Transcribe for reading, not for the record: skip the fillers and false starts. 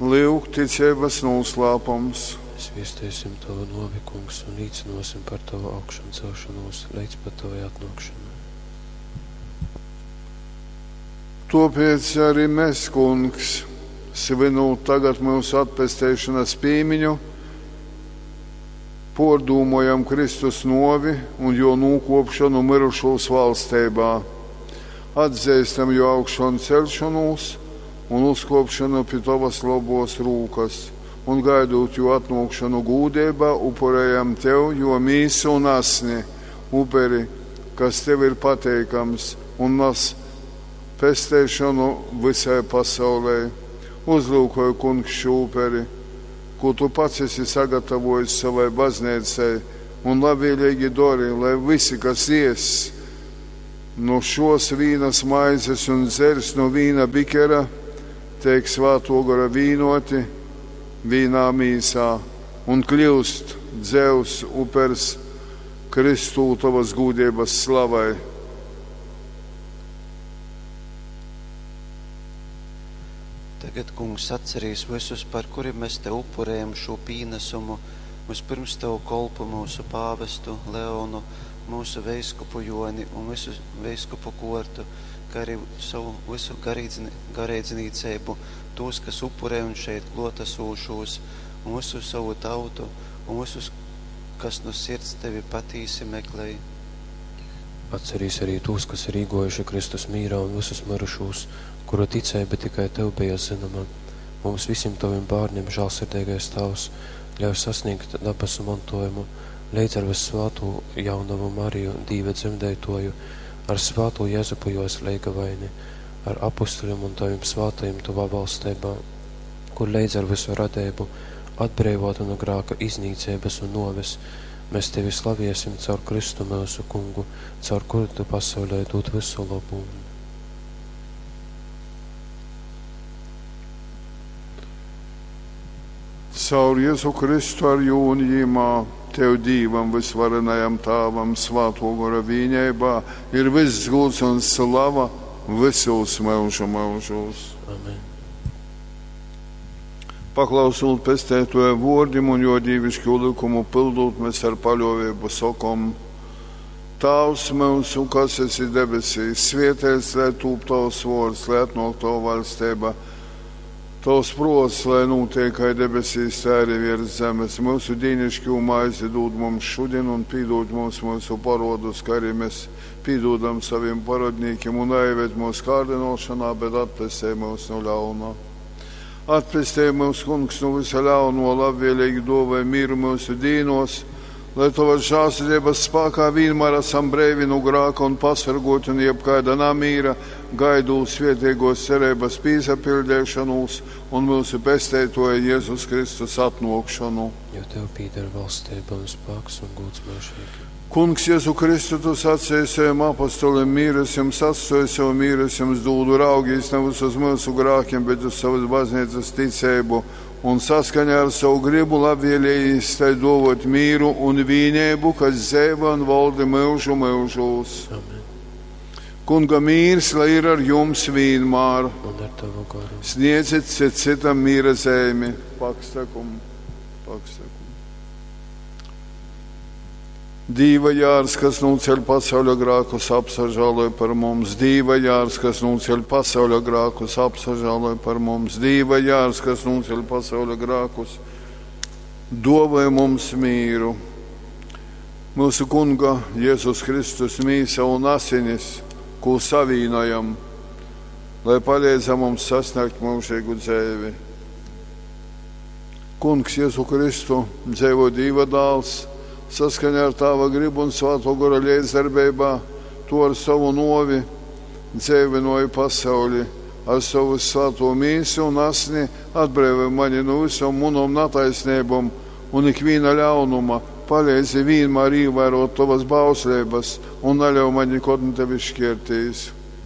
Lyuk, ticeibas nūslāpums. Mēs viesteisim Tavu nuovi, Kungs, un līcinosim par Tavu augšancelšanos leidz pat Tavai atnākšanai. Tōpēc arī mēs, Kungs, svinūt tagad mūsu atpesteišanas pīmiņu, pōrdūmojam Kristus novi un jo nūkopšanu mirušūs valsteibā. Atzīstam jo augšanu celšanos un uzkopšanu pie Tavas labos rūkas, un gaidot jo atnākšanu gūdībā, upurējam Tev, jo mīsu un asni, uperi, kas Tev ir pateikams un nas pesteišanu visai pasaulē. Uzlūkoju, kungs, šo uperi, ko Tu pats esi sagatavojis savai baznīcai, un labvēlīgi dori, lai visi, kas ies no šos vīnas maizes un dzers no vīna bikera, tiek svēto gara vīnoti vīnā mīsā un kļūst dzevs upers Kristū tavas gūdības slavai. Tagad, Kungs, atcerīs visus, par kuriem mēs te upurējam šo pīnesumu, vispirms tavu kolpu mūsu pāvestu Leonu, mūsu veiskupu Joni un visu veiskupu kortu, kā arī savu visu garīdznīcību, tos, kas upurē un šeit klotasūšos, un visu savu tautu, un visus, kas no sirds tevi patīsi meklēj. Atcerīs arī tos, kas ir īgojuši Kristus mīrā un visus mirušos, kuru ticība tikai Tev bija zināma. Mums visiem Taviem bērniem, žēlsirdīgais Tēvs, ļauj sasniegt dabasu mantojumu, līdz ar vissvēto jaunavu Mariju, Dīva dzemdētoju, ar svēto Jēzupu jos leigavaini, ar apustuļiem un Taviem svētajiem Tavā valstībā, kur līdz ar visu radību, atbrīvota no grāka iznīcības un noves, mēs Tevi slaviesim caur Kristu mūsu kungu, caur kuru Tu pasaulē dod visu labumu. Caur Jēzu Kristu ar jū un jīmā, Tev Dīvam, visvarenajam Tāvam, Svāto Gora vīņeibā, ir viss gūds un slava visos mūžu mūžos. Amen. Paklausot pestētoja vōrdim un jo dīvišķo likumu pildot, mēs ar paļovību sokom. Tavs mūsu, kas esi debesīs, svietēts, lai tūp tavs vārds, lai atnāk tava valstība. Tavs prots, lai notiek kā debesīs, tā arī virs zemes. Mūsu dīnišķo maizi dod mums šodien un pīdod mums mūsu parodus, kā arī mēs pīdodam saviem parodnīkiem un aived mūsu kārdinošanā, bet atpestē mūs no ļauna. Atpestē mūs, kungs, no visa ļauno, labvēlīgi dovai mieru mūsu dīnos, lai tavas žēlsirdības spēkā vienmēr esam brīvi no grāka un pasargoti un jebkāda namīra, gaidot svētīgos cerības pīsapildīšanos un mūsu pestētoja Jēzus Kristus atnākšanu. Jo Tev pīder valstība un spēks un gods mūžīgi. Kungs, Jēzu Kristu, tu sacīji saviem apostoliem, mīras jums atstoju savu mīras jums dūdu, raugīs nevis uz mūsu grākiem, bet uz savas baznīcas ticību un saskaņā ar savu gribu labvēlējis tai dovot mīru un vīnību, kas dzēva un valda mūžu mūžos. Amen. Kunga mīrs, lai ir ar jums vienmēr. Un ar Tavu garu. Sniedziet cit citam mīra zēmi. Pakstakum, pakstakum. Dīva jārs, kas nūceļ pasauļa grākus, apsažāloj par mums. Dīva jārs, kas nūceļ pasauļa grākus, apsažāloj par mums. Dīva jārs, kas nūceļ pasauļa grākus, dovai mums mīru. Mūsu kunga Jēzus Kristus mīsa un asinis, ko savīnojam, lai palīdza mums sasniegt mūžīgu dzēvi. Kungs Jēzu Kristu, dzēvo Dīva dāls, saskaņā ar Tāva gribu un Svēto Gora līdzdarbībā, to ar savu novi dzēvinoju pasauli, ar savu svēto mīsu un asni atbrīvoja mani no visam munom nataisnībom un ikviena ļaunuma, palīdzi vienmēr ievērot tavas bauslības un neļauj man nekad no tevis šķirtīs.